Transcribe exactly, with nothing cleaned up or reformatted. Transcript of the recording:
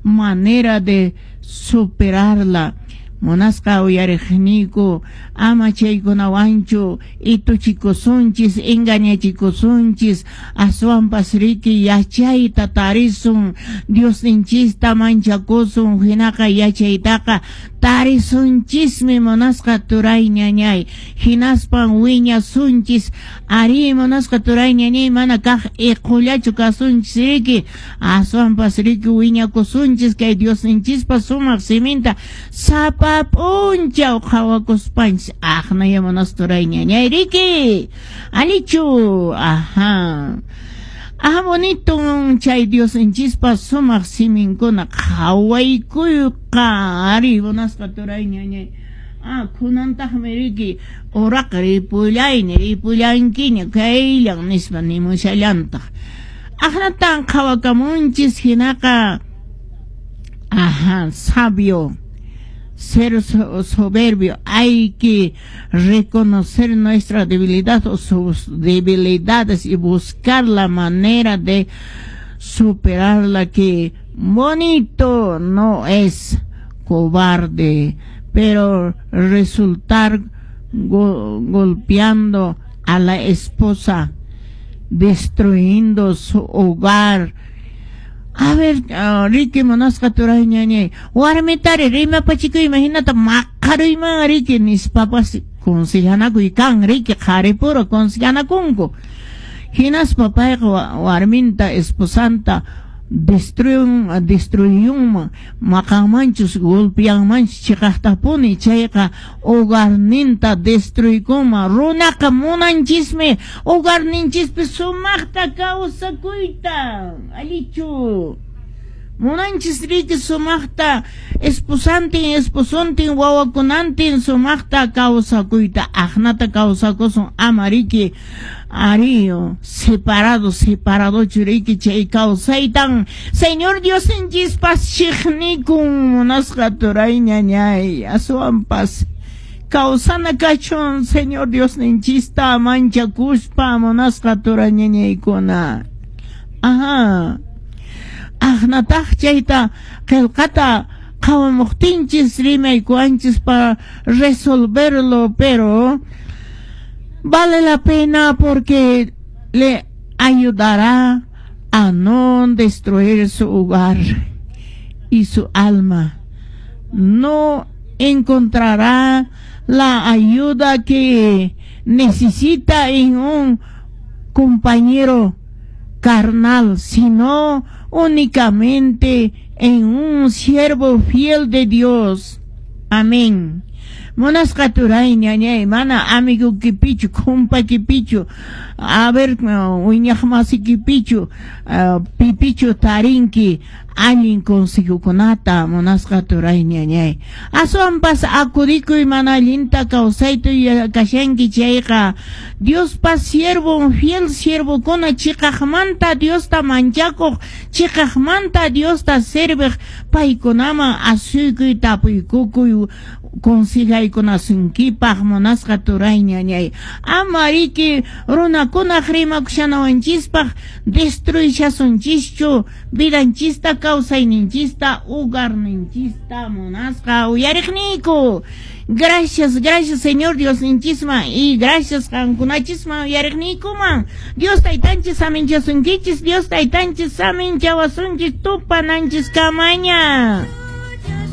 Manera de superarla. Munasqa uyariqniyku, ama chaykunawanchu ituchikusunchis, engañachikusunchis, aswanpas riki yachayta tarisun, Diosninchista manchakusun, hinaqa yachaytaqa tarisunchismi, munasqa turay ñañay, hinaspan wiñasunchis. Ari, munasqa turay ñañay, mana kaq iqullachu kasunchis riki, aswanpas riki wiñakusunchis kay Diosninchispa sumaq siminta sapa p'unchaw qhawakuspanchis. Aqnaya, munasqa turay ñañay, riki alichu. Ajá. Ah, bonito chay Diosninchispa sumaq siminkuna qhawaykuyqa. Ari, munasqa turay ñañay. Ah, kunantaqmi riki uraqa ripullayni, ripullankiña kayllan nispa nimushallantaq. Aqnatan qhawakamunchis hinaqa. Ajá, sabio. Ser soberbio, hay que reconocer nuestra debilidad o sus debilidades y buscar la manera de superarla. Que bonito no es cobarde, pero resultar go golpeando a la esposa, destruyendo su hogar. A ver, uh, riki munasqa turay ñañay, warmitari rimapachikuy hinata maqaruyman riki nispapas consejanakuy kan riki, qharipura consejanakunku. Hinaspa payqa warminta, esposanta destruyun, destruyunman, maqanmanchus, golpeanmanchus chiqaqtapuni, chayqa hogarninta destruykunman. Runaqa munanchismi hogarninchispi sumaqta kawsakuyta, allichu? Munanchis riki sumaqta esposantin, esposontin, wawakunantin sumaqta kawsakuyta. Aqnata kawsakusun, ama riki ariyo separado, separadochu riki. Chay kawsaytan Señor Diosninchispas chiqnikun, munasqa turay ñañay. Aswanpas kawsana kachun Señor Diosninchista manchakuspa, munasqa turay ñañaykuna. Ajá. Aqnataq chayta qillqata qhawamuqtinchis rimaykuwanchis para resolverlo, pero vale la pena porque le ayudará a no destruir su hogar y su alma. No encontrará la ayuda que necesita en un compañero carnal, sino únicamente en un siervo fiel de Dios. Amén. Munasqa turay ñañay, mana amigo kipichu, kumpa kipichu, a ver, wiñaq masi kipichu, uh, pipichu tarinki allin consejokunata, munasqa turay ñañay. Aswanpas akudikuy mana allinta kawsayta kashanki chayqa Diospa siervo, fiel siervokuna, chiqaqmanta Diosta manchakuq, chiqaqmanta Diosta serviq, paykunaman asuykuy, tapuykukuy consejaykunasunkipaq, munasqa turay ñañay. Ama riki runakunaq rimakushanawanchispaq destruyshasunchischu vidanchista, kawsayninchista, hogarninchista, munasqa uyariqniyku. Gracias, gracias, Señor Diosninchisman, y gracias qankunachisman, uyariqniykuman. Dios taytanchis saminchasunkichis, Dios taytanchis saminchawasunchis, tupananchis kamaña.